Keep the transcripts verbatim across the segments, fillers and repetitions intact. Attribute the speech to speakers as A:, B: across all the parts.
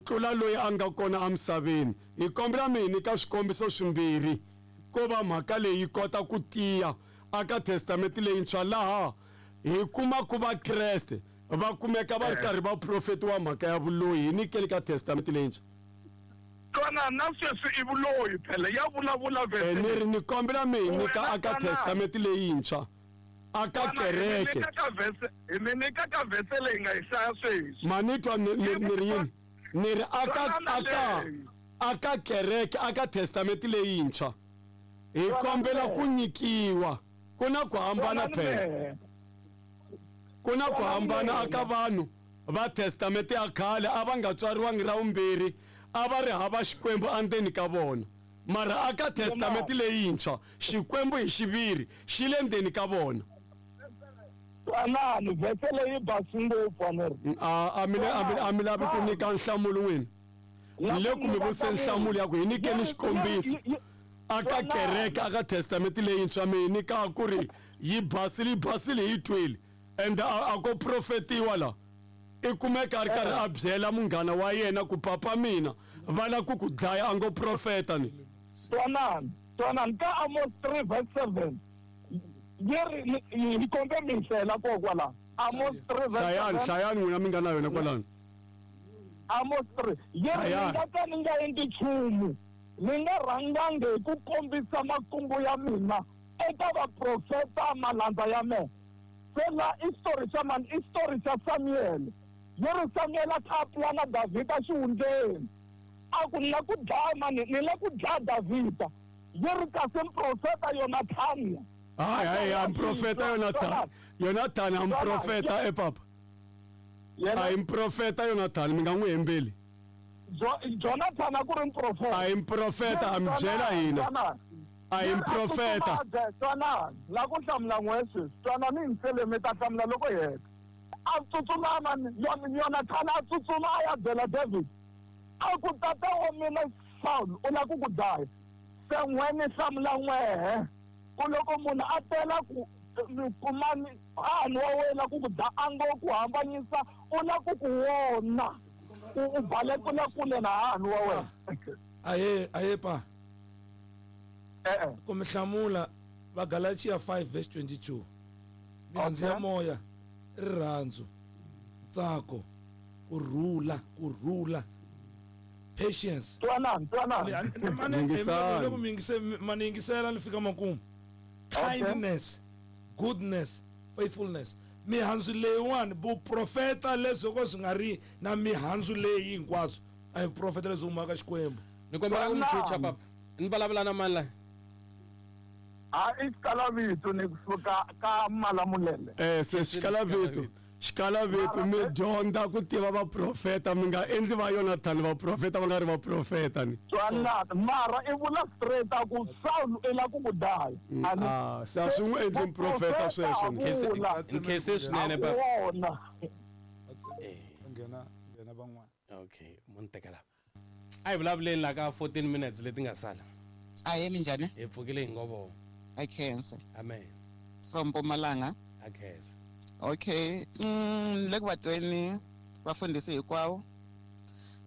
A: tlula loyi a nga kona emisaveni. Hi kombela mi hi nyika swikombiso swimbirhi ko va mhaka leyi yi kota ku tiya aka testamente leyintshwa laha hi kuma ku va Kreste va kumeka va ri karhi va profetiwa mhaka ya vuloyi. Hi nyikeli ka testamente leyintshwa.
B: Twana na sweswi i vuloyi phela ya vulavula
A: Eh, ni ri ni kombela mi hi nyika
B: Wena
A: aka
B: twanana.
A: testamente leyintshwa aka kereke.
B: ka verse hi mi nyika ka verse leyi nga yi hlaya sweswi.
A: Ma ni twa ni ni- ni ri yini? Ni ri aka
B: Twanana
A: aka
B: leyi.
A: aka kereke aka testamente leyintshwa hi kombela ku nyikiwa. Ku na ku hambana phela. Ku na ku hambana aka vanhu va testamente ya khale a va nga tswariwangi ra vumbirhi, a va ri hava Xikwembu endzeni ka vona. Mara aka testamente leyintshwa Xikwembu hi xiviri xi le ndzeni ka vona.
B: Twanani verse leyi basi ngopfu a ni ri.
A: A a mi le- a mi- a mi lavi ku nyika nhlamulo n'wina. Ni le ku mi vutiseni nhlamulo ya ku hi nyikeni xikombiso aka kereke aka testamente leyintshwa mi hi nyika ku ri yi basile yi basile hi yi twile ende a a ko profetiwa la. I kumeka a ri karhi a byela munghana wa yena ku papa mina va la ku ku dlaya a ngo profeta ni.
B: Twanani, twanani ka Amos three verse seven. Yi ri ni- hi kombe mi hlayela kona kwala. Amos three verse
A: Hlayani
B: seven.
A: hlayani n'wina mi nga na yona kwalano.
B: Amos three. Yi ri
A: Hlayani.
B: ni nga ka ni nga endli nchumu. Ni nga rhangangi hi ku kombisa makungu ya mina eka vaprofeta malandza ya mina. Se la i story xa mani? I story xa Samuel. Yi ri Samuel a kha a pulana Davhida xihundleni. A ku ni la ku dlaya mani, ni la ku dlaya Davhida. Yi ri kasi muprofeta Yonathani.
A: Hayi hayi a muprofeta Yonathani. Yonathani a muprofeta e papa. A hi muprofeta Yonathani mi nga n'wi hembeli.
B: Jo- Jonathan a ku ri muprofeta.
A: A hi muprofeta a mi byela hina. A hi muprofeta.
B: Twanani, la ku hlamula n'we sweswi. Twanani hi nsele mi ta hlamula loko hi heta. A tsutsuma mani, Yon- Yonathani a tsutsuma a ya byela David. A ku tata wa mina Saul u la ku ku dlaya. Se n'we ni hlamula n'wehe. Ku loko munhu a tela ku kumani hahani wa wena ku ku dlaya a ngo ku hambanyisa u la ku ku wona. U u balekela kule na hahani wa wena.
C: Ahe, ahe pa.
B: E-e.
C: Ku mi hlamula va Galatia five verse twenty-two. Mihandzu ya
B: Okay.
C: moya, rirhandzu, ntsako, ku rhula, ku rhula, patience.
B: Twanani, twanani.
A: Yingisani.
C: Loko mi yingise, ma ni yingisela ni fika makumu. Kindness, goodness, faithfulness. Mihandzu leyiwani vuprofeta leswi ko swi nga ri na mihandzu leyi hinkwaswo a hi vuprofeta lebyi humaka Xikwembu.
D: Ni kombela ku mi chucha papa. Ni vulavula na mani la?
B: A i xikalavito ni kusuka ka Malamulele.
A: Eh se xikalavito. Xikalavito mi dyondza ku tiva vaprofeta mi nga endli va Yonathani vaprofeta va nga ri vaprofeta ni.
B: Twanani, mara i vula straight a ku Saul i la ku ku dlaya. A ni-
A: Ah, se a swi n'wi endli muprofeta sweswo ni.
D: Nkhense-
B: Vula.
D: Nkhense swinene
B: A
D: papa.
B: ku wona.
E: Nghena nghena van'wana.
D: Okay, mo ni teka lava. A hi vulavuleni la ka fourteen minutes leti nga sala.
F: Ahe minjhani?
D: Hi pfukile hi ngovo.
F: A khensa.
D: Amen.
F: From Mpumalanga.
D: A khensa.
F: Okay. Mm, le ku vatweni vafundhisi hinkwavo.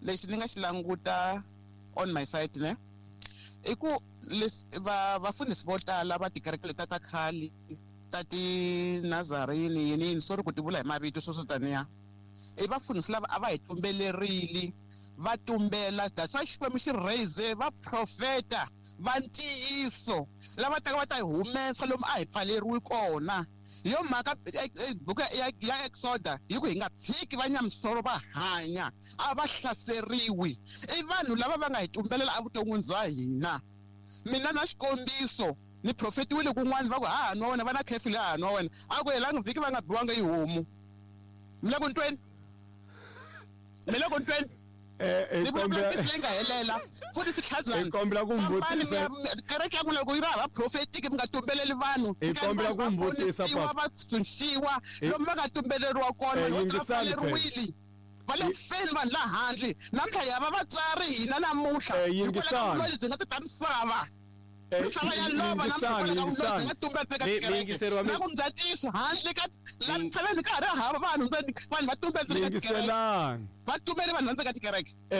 F: Lexi ni nga xi languta on my side ne? I ku leswi va vafundhisi vo tala va tikereke leta ta khale ta ti Nazarene yini yini sorry ku ti vula hi mavito swo swo taniya. I vafundhisi lava a va hi tumbelerile va tumbela that's why Xikwembu xi raise va profeta va ntiyiso lava taka va ta hi humesa lomu a hi pfaleriwi kona. Hi yo mhaka buku ya, ya Exoda yi ku hi nga tshiki va nyamisoro va hanya a va hlaseriwi. I vanhu lava va nga hi tumbelela evuton'wini bya hina. Mina na xikombiso ni profetiwile kun'wana va ku hahani wa wena va na curfew leyi hahani wa wena a ku helanga vhiki va nga biwanga yi homu. Mi le ku ntweni? Mi le ku ntweni?
A: Eh, eh,
F: Ni vulavula
A: kombela
F: ntiyiso leyi nga helela futhi swi tlhabyana.
A: Hi kombela ku
F: Fambani
A: mvutisa.
F: mi ya- kereke ya n'wina loko yi ri hava prophetic mi nga tumbeleli vanhu.
A: Hi kombela ku mvutisa,
F: Va
A: papa.
F: va tshunxiwa
A: Hi-
F: lomu va nga tumbeleriwa kona,
A: Eh,
F: loko va
A: yingisani phela.
F: pfaleriwile. Va le ku feni vanhu la handle. Namuntlha hi hava vatswari hina namuntlha.
A: Eh,
F: Hikwalaho ka
A: yingisani.
F: vuvabyi byi nga ta ta misava.
A: Eh,
F: Misava ya lova namuntlha
A: yingisani,
F: hikwalaho ka vuvabyi byi
A: yingisani.
F: nga tumbeleka
D: Mi- mi
F: tikereke.
D: yingiseriwa mi-
F: Na ku mi bya ntiyiso handle ka la
D: Mi-
F: misaveni ka ha ri hava vanhu ntsena, vanhu va tumbeleka tikereke.
A: Yingiselani.
F: Va tumbele vanhu va ndzeni ka tikereke.
A: Eh,